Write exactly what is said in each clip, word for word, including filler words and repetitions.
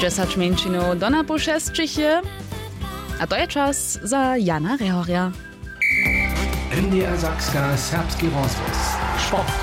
Dźesać mjeńšinow do napoł šesćich je. A to je čas za Jana Rehorja. N D R Sakska, serbski rozhłos. Sport.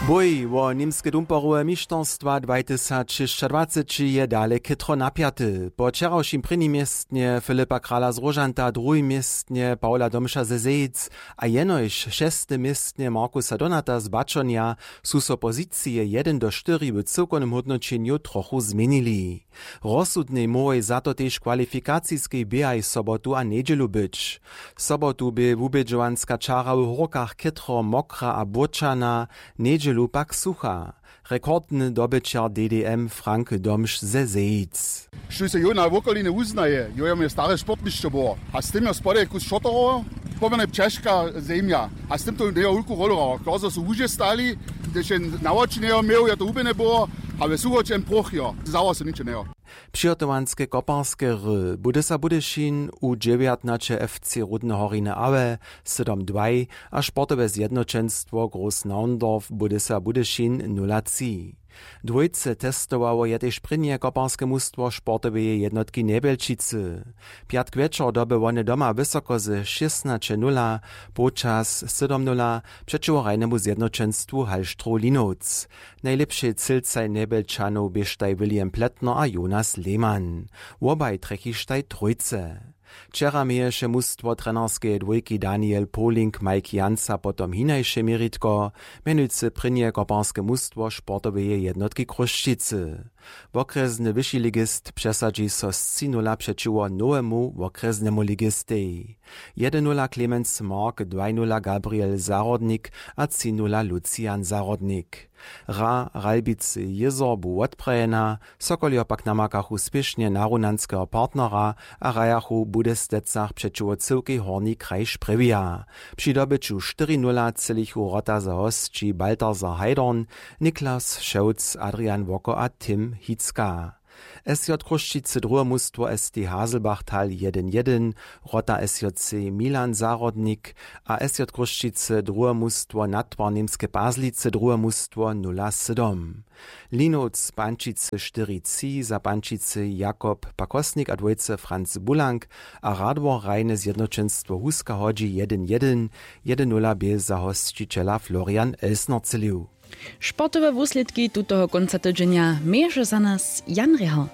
Bój wo němske dumperowe mišterstwa dwaj tysac šěsćadwaceći je dale chětro napjaty. Po wčerawšim prěnim městnje Filipa Krala z Róžanta, druhim městnje Pawla Domša ze Zejic a jenož šestim městnje Markusa Donata z Baćonja su so pozicije jedyn do štyri w cyłkownym hódnoćenju trochu změnili. Rozsudnej móhłoj za to tež kwalifikaciskej běhaj sobotu a njedźelu być. Sobotu bě wubědźowanska čara w Hórkach chětro mokra a błóčana, njedźelu pak sucha. Rekordny dobyćer D D M Frank Domš ze Zejic. Štóž se jóna wokolinje wuznaje, jo je mje stare sportnišćo było. A z tym jo spodaj kus šotorowo, pomjerne ćežka zemja. A z tym to njejo wulku rolu hrała. Klozo su łuže stali, hdyž je na woči njejo měł, je to hubjene było, a we suchoćem proch jo. Zawo so ničo njejo. Přihotowanske koparske hry Budysa Budyšin u dźewjatnaće F C Rudne Horiny Aue sydom dwaj a sportowe zjednoćenstwo Groß Naundorf Budysa Budyšin nula tři. Dwójce testowało je tež prěnje koparske mustwo sportoweje jednotki Njebjelčicy. Pjatk wječor doby wone doma wysoko ze šěsnaće nula, połčas sydom nula přećiwo hrajnemu zjednoćenstwu Hallstroh Linowc. Najlěpšej cylcaj Njebjelčanow běštaj William Pletner a Jonas Lehmann. Wobaj trjechištaj trójce. Wčera měješe mustwo trenerskeje dwójki Daniel Poling Mike Jansa potom hinaše měritko, mjenujcy prěnje koparske mustwo sportoweje jednotki Chrósćicy. Wokrjesny wyši ligist přesadźi so z tři nula přećiwo nowemu wokrjesnemu ligistej. Jedyn nula Clemens Mark, dwaj nula Gabriel Zahrodnik a tři nula Lucian Zahrodnik. Hra Ralbicy jězor bu wotprajena, Sokoljo pak namakachu spěšnje narunjanskeho partnera a hrajachu w Budestecach přećiwo cyłkej Horni kraj Sprjewja. Při dobyću štyri nula třělichu wrota za hosći Balthasar Heidorn, Niklas Šewc, Adrian Woko a Tim Hitzka. S J Chrósćicy druhe mustwo S T Haselbachtal jedyn jedyn, wrota S J C Milan Zahrodnik a S J Chrósćicy druhe mustwo Natwar Němske Pazlicy druhe mustwo nula sydom. Linowc Pančicy štyri tři za Pančicy Jakob Pakosnik a dwójce Franz Bulank a Radworhrajne zjednoćenstwo Huska hodźi jedyn jedyn, jedyn nula bě za hosćićela Florian Elsner třělił. Sportowe wuslědki tutoho kónca tydźenja měješe za nas Jan Rěhal.